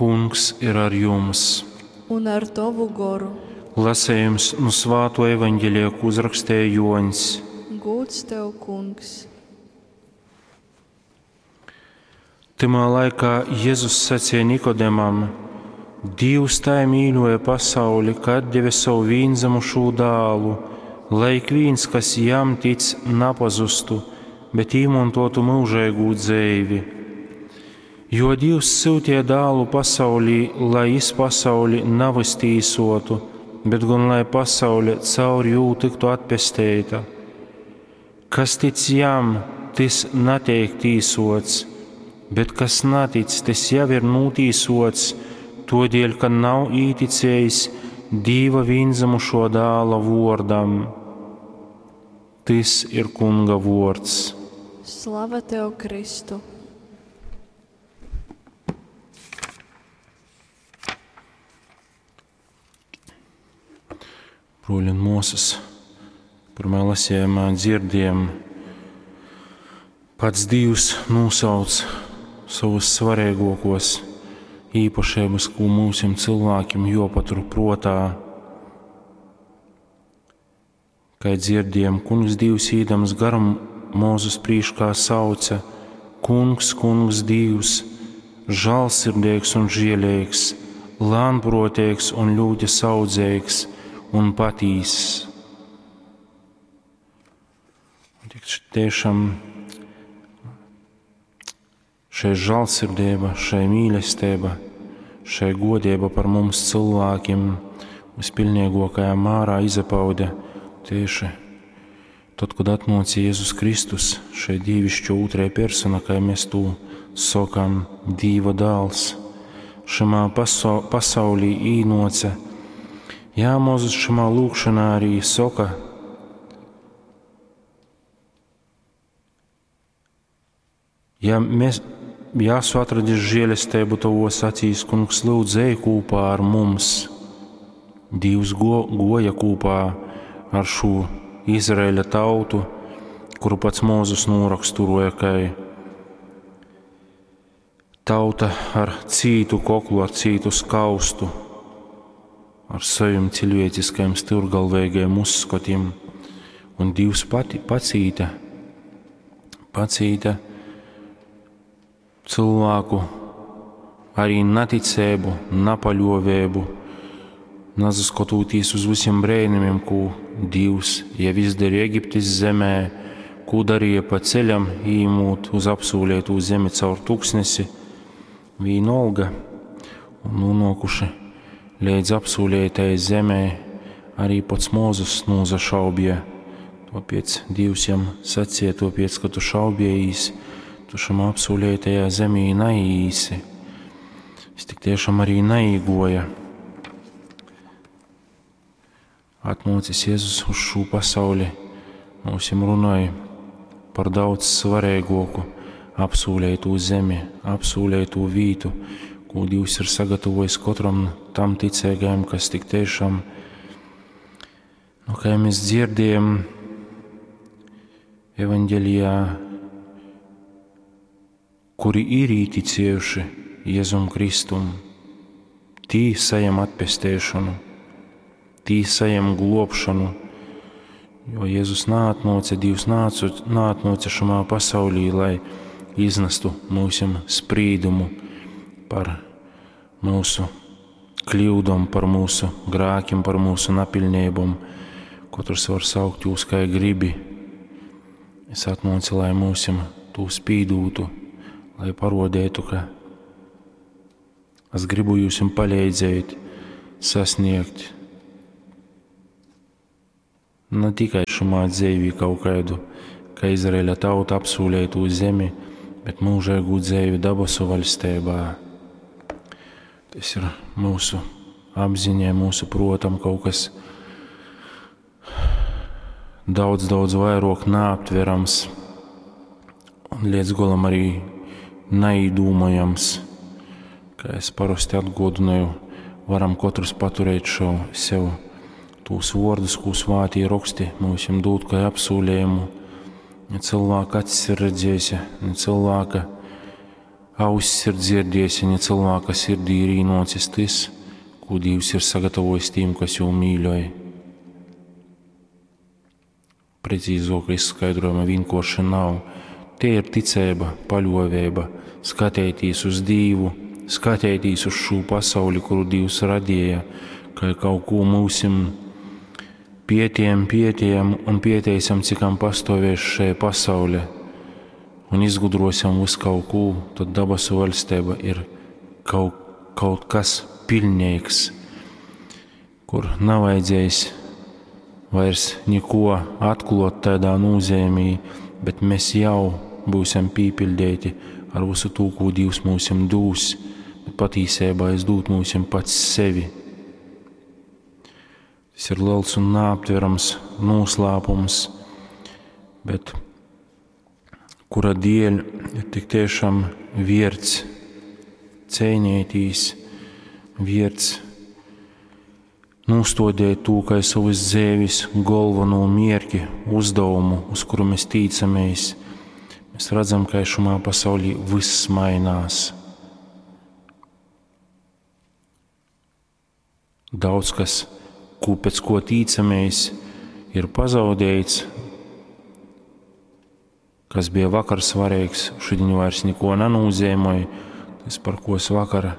Kungs ir ar jums! Un ar tovu goru. Lasējums nu Svāto evaņģelija, ko uzrakstēja Joņs. Gūds tev, Kungs! Tymā laikā Jezus sacīja Nikodemam: Dīvs tai mīļoja pasauli, ka atdeve savu vīnzamušū dālu, lai ikvīns, kas jam tic, napazustu, bet īmontotu mūžīgu dzeivi. Jo Dīvs syutīja dālu pasaulī, lai jis pasauli navys tīsotu, bet gan lai pasaule caur jū tiktu atpesteita. Kas tic jam, tys natiek tīsots, bet kas natic, tys jau ir nūtīsots, todēļ, ka nav īticējis Dīva vīnzamušo dāla vōrdam. Tys ir Kunga vōrds. Slava tev, Kristu! Bruoļi un muosys, pyrmajā lasījumā dzirdējam, pats Dīvs nūsauc sovus svarīgākos īpašības, ko mūsim cilvēkiem jopatur protā. Kai dzirdējam, Kungs Dīvs īdams garum Mūzus prīškā sauca: Kungs, Kungs Dīvs, žālsirdīgs un žielīgs, lānprotīgs un ļoti saudzīgs un patīss. Un tik tiešām šai žālsirdība, šai mīlestība, šai godība par mums cilvēkiem vispilnīgākajā mārā izpaude tieši tad, kad atnāca Jēzus Kristus, šai dievišķo otrajā persona, kā mēs to sakām, Dīva dāls, šamā pasaulī īnoca. Jā, Mozus šamā lūkšanā arī saka, ja mēs, ja esmu atradis žēlestību tavos acīs, kungs, lūdzu, ej kopā ar mums. Dīvs goja kopā ar šo Izraēļa tautu, kuru pats Mūzus noraksturoja kā tauta ar cītu koklu, ar cītu skaustu, ar saviem cilvēciskajiem stūrgalvīgajiem uzskatiem. Un Dievs pati pacīta, pacīta cilvēku arī neticību, napaļovēbu, nazaskatoties uz visiem brēnumiem, ko Dievs jau izdarīja Eģiptes zemē, ko darīja pa ceļam, īmūt uz apsūlēto zemi caur tuksnesi, vienalga, un nonākuši līdz apsūlētajai zemē, arī pats Mūzes nozašaubīja. Tāpēc Dievs jam sacīja, tāpēc, ka tu šaubījīs, tu šam apsūlētajā zemī naīsi. Es tik tiešām arī naīgoja. Atnācis Jēzus uz šo pasauli, mums runāja par daudz svarīgāku apsūlēto zemi, apsūlēto vītu, ko Dievs ir sagatavojis katram tam ticīgajam, kas tik tiešām, nu, kā mēs dzirdējam evaņģelijā, kuri ir īticējuši Jēzum Kristum, tī saņem atpestēšanu, tī saņem globšanu, jo Jēzus nātnoce, Dievs nātnoce šamā pasaulī, lai iznestu mūsim sprīdumu par mūsu kļūdom, par mūsu grākiem, par mūsu napilnībom. Katrs var saukt jūs, kā gribi. Es atnācu, lai mūsim tū spīdūtu, lai parodētu, ka es gribu jūsim palīdzēt sasniegt ne tikai šumā dzīvī kaut kādu, kā Izraēļa tauta apsūlēto zemi, bet mūžīgu dzīvi dabasu valstībā. Tas ir mūsu apziņai, mūsu protam kaut kas daudz, daudz vairāk neaptverams un līdz galam arī neīdūmojams. Kā es parasti atgodināju, varam katrs paturēt šo sev tūs vārdus, ko svātī raksti mums dod kā apsūlējumu. Ne cilvēka acis ir redzējis, ne cilvēka Auss ir dzierdiejs, ja ni cylvāka sirdī ir īnuocis tys, kū Dīvs ir sagatavojis tīm, kas jū mīļoj. Precīzuoka izskaidrojuma vienkārši nav. Te ir ticeiba, paļuoveiba, skateitīs uz Dīvu, skateitīs uz šū pasauli, kuru Dīvs radīja, kai kaut ko mūsim pietījam, pietījam un pieteisim, cikam pastovēs šai pasaule, un izgudrosim visu kaut ko, tad dabasu valstība ir kaut kas pilnīgs, kur nav vajadzējis vairs neko atklāt tādā nozīmī, bet mēs jau būsim pīpildēti ar visu to, ko Dievs mums dūs, bet patīsībā es dūt mums pats sevi. Tas ir liels un neaptverams noslēpums, bet kura dēļ ir tik tiešām vērts cīnīties, vērts nostodēt to, kā savas dzīves galveno mierki, uzdevumu, uz kuru mēs tīcamies. Mēs redzam, ka šajā pasaulī viss mainās. Daudz kas, ko pēc ko tīcamies, ir pazaudēts. Kas bija vakar svarīgs, šodien vairs neko nenozīmē. Tas, par ko es vakar,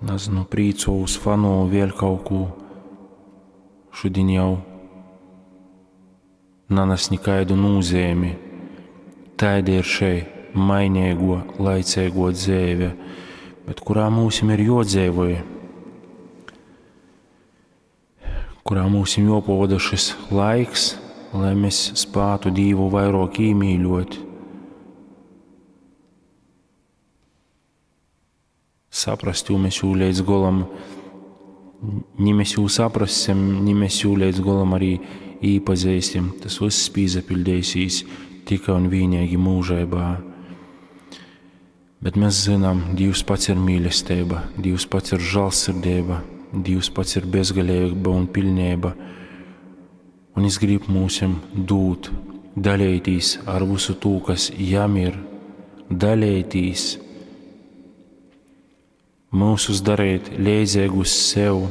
nezinu, prīcovos, fanoju, vēl kaut ko, šodien jau nanes nekādu nozīmi. Tāda ir šī mainīgo, laicīgo dzīve, bet kurā mums ir jodzīvoj, kurā mums ir jopavada šis laiks, lai mēs spētu Dievu vairāk iemīļot. Saprast, jo mēs jū līdz golam, ni mēs jū saprassim, ni mēs jū līdz golam arī īpazīsim. Tas viss pīzapildēsīs tikai un vienīgi mūžībā. Bet mēs zinām, Dievs pats ir mīlestība, Dievs pats ir žēlsirdība, Dievs pats ir bezgalība un pilnība. Un es gribu mūsim dūt, dalīties ar visu to, kas jam ir, dalīties, mūsus darīt līdzīgus sev.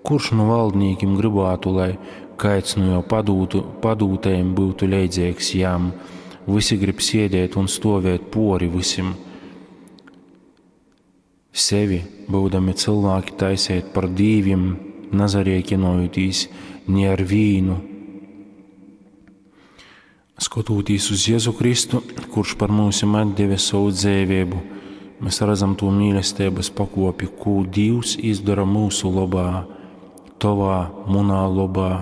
Kurš no valdniekiem gribētu, lai kāds no jau padūtajiem būtu līdzīgs jam? Visi grib sēdēt un stovēt pori visiem. Sevi, būdami cilvēki, taisēt par dīvim, nazarēķinojotīs ne ar vīnu. Skatoties uz Jēzu Kristu, kurš par mums atdeva savu dzīvību, mēs redzam to mīlestības pakopi, ko Dievs izdara mūsu labā, tavā, munā labā.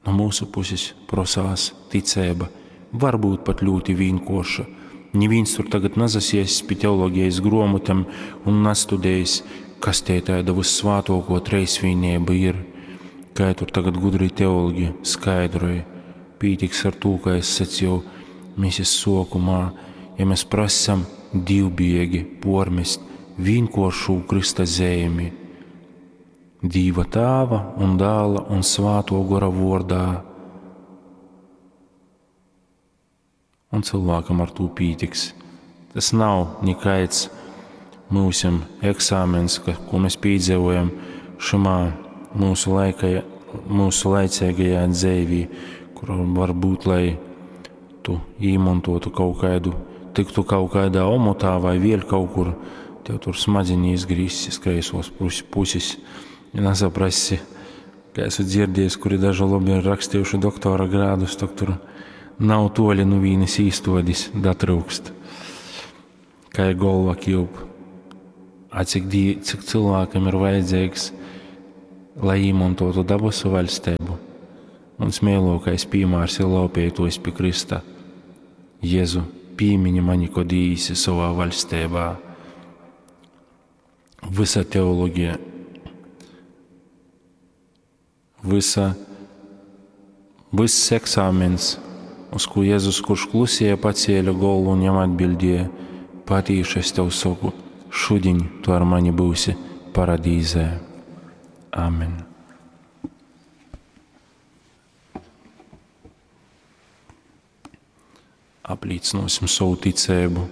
No mūsu puses prasās ticība, varbūt pat ļoti vienkārša. Neviens tur tagad nazasies pie teoloģijas grāmatām un nastudējis, kas te tāda vissvātoko treisvienība ir. Kā tur tagad gudri teologi skaidroja. Pītiks ar to, ka es sacīju misijas sokumā, ja mēs prasam divbiegi pormest vienkāršu Krista zemi. Dīva tēva un dēla un svāto gora vordā. Un cilvēkam ar to pītiks. Tas nav nekāds mūsim eksāmens, ko mēs piedzīvojam šimā mūsu laicīgajā dzīvī, kur varbūt, lai tu īmontotu kaut kādu, tiktu kaut kādā omotā vai vēl kaut kur, tev tur smadziņi izgrīzis kreisos puses. Ja nesaprasi, kā esmu dzirdējis, kuri daži labi ir rakstījuši doktora grādus, tak tur nav toļi nu vīnes īstodis datrūkst. Kā ir golva kļūp. A cik, cik cilvēkam ir vajadzīgs, lai īmontotu dabasu vaļstību. Mans mīlākais piemērs ir laupītojs pie Krista. Jēzu, pīmiņi mani, kod īsi savā vaļstībā. Visa teoloģija, viss eksāmens, uz ko Jēzus, kurš klusēja, pacēla galvu un jam atbildēja, patīši es tev saku, šodien tu ar mani būsi paradīzē. Amen. Aplīcynōsim sovu ticeibu.